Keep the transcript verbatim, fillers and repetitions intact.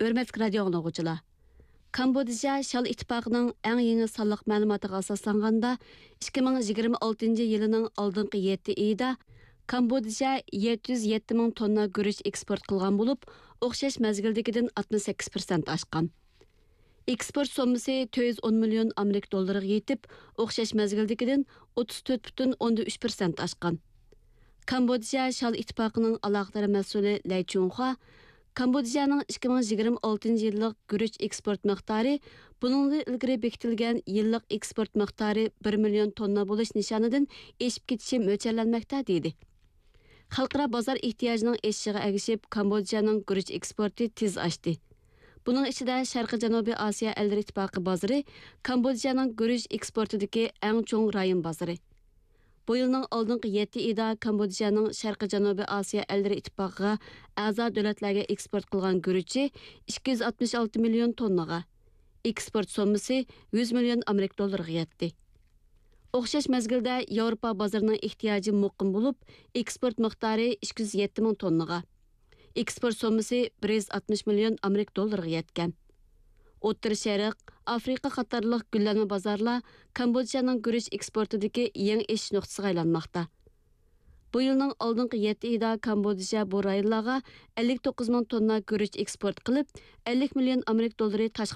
ھۆرمەتلىك رادىيو ئاڭلىغۇچىلار! كامبودژا شال ئىتتىپاقىنىڭ ئەڭ يېڭى سانلىق مەلۇماتىغا ئاساسلانغاندا، ئىككى مىڭ يىگىرمە ئالتىنچى يىلىنىڭ ئالدىنقى يەتتە ئېيىدا كامبودژا يەتتە يۈز يەتتە مىڭ توننا گۈرۈچ ئېكسپورت قىلغان بولۇپ، ئوخشاش مەزگىلدىكىدىن ئاتمىش سەككىز پىرسەنت ئاشقان. ئېكسپورت سوممىسى تۆت يۈز ئون مىليون ئامېرىكا دوللىرىغا يېتىپ، ئوخشاش مەزگىلدىكىدىن ئوتتۇز تۆت پۈتۈن ئوندىن ئۈچ پىرسەنت ئاشقان. كامبودژا شال ئىتتىپاقىنىڭ ئالاقىدار مەسئۇلى لەي چۇڭخۇا، كامبودژانىڭ ئىككى مىڭ يىگىرمە ئالتىنچى يىللىق گۈرۈچ ئېكسپورت مىقدارى بۇنىڭدىن ئىلگىرى بېكىتىلگەن يىللىق ئېكسپورت مىقدارى بىر مىليون توننا بولۇش نىشانىدىن ئېشىپ كېتىشى مۆلچەرلەنمەكتە، دېدى. خەلقئارا بازار ئېھتىياجىنىڭ ئېشىشىغا ئەگىشىپ، كامبودژانىڭ گۈرۈچ ئېكسپورتى تېز ئاشتى. بۇنىڭ ئىچىدە شەرقىي جەنۇبىي ئاسىيا ئەللىرى ئىتتىپاقى بازىرى كامبودژانىڭ گۈرۈچ ئېكسپورتىدىكى ئەڭ چوڭ رايون بازىرى. بۇ يىلنىڭ ئالدىنقى يەتتە ئېيىدا كامبودژانىڭ شەرقىي جەنۇبىي ئاسىيا ئەللىرى ئىتتىپاقىغا ئەزا دۆلەتلەرگە ئېكسپورت قىلغان گۈرۈچى ئىككى يۈز ئاتمىش ئالتە مىليون توننىغا، ئېكسپورت سوممىسى يۈز مىليون ئامېرىكا دوللىرىغا يەتتى. ئوخشاش مەزگىلدە ياۋروپا بازىرىنىڭ ئېھتىياجى مۇقىم بولۇپ، ئېكسپورت مىقدارى ئىككى يۈز يەتتە مىڭ توننىغا، ئېكسپورت سوممىسى بىر يۈز ئاتمىش مىليون ئامېرىكا دوللىرىغا يەتكەن. ئوتتۇرا شەرق، ئافرىقا قاتارلىق گۈللەنمە بازارلار كامبودژانىڭ گۈرۈچ ئېكسپورتىدىكى يېڭى ئېشىش نۇقتىسىغا ئايلانماقتا. بۇ يىلنىڭ ئالدىنقى يەتتە ئېيىدا كامبودژا بۇ رايونلارغا ئەللىك توققۇز مىڭ توننا گۈرۈچ ئېكسپورت قىلىپ، ئەللىك مىليون ئامېرىكا دوللىرى تاشقى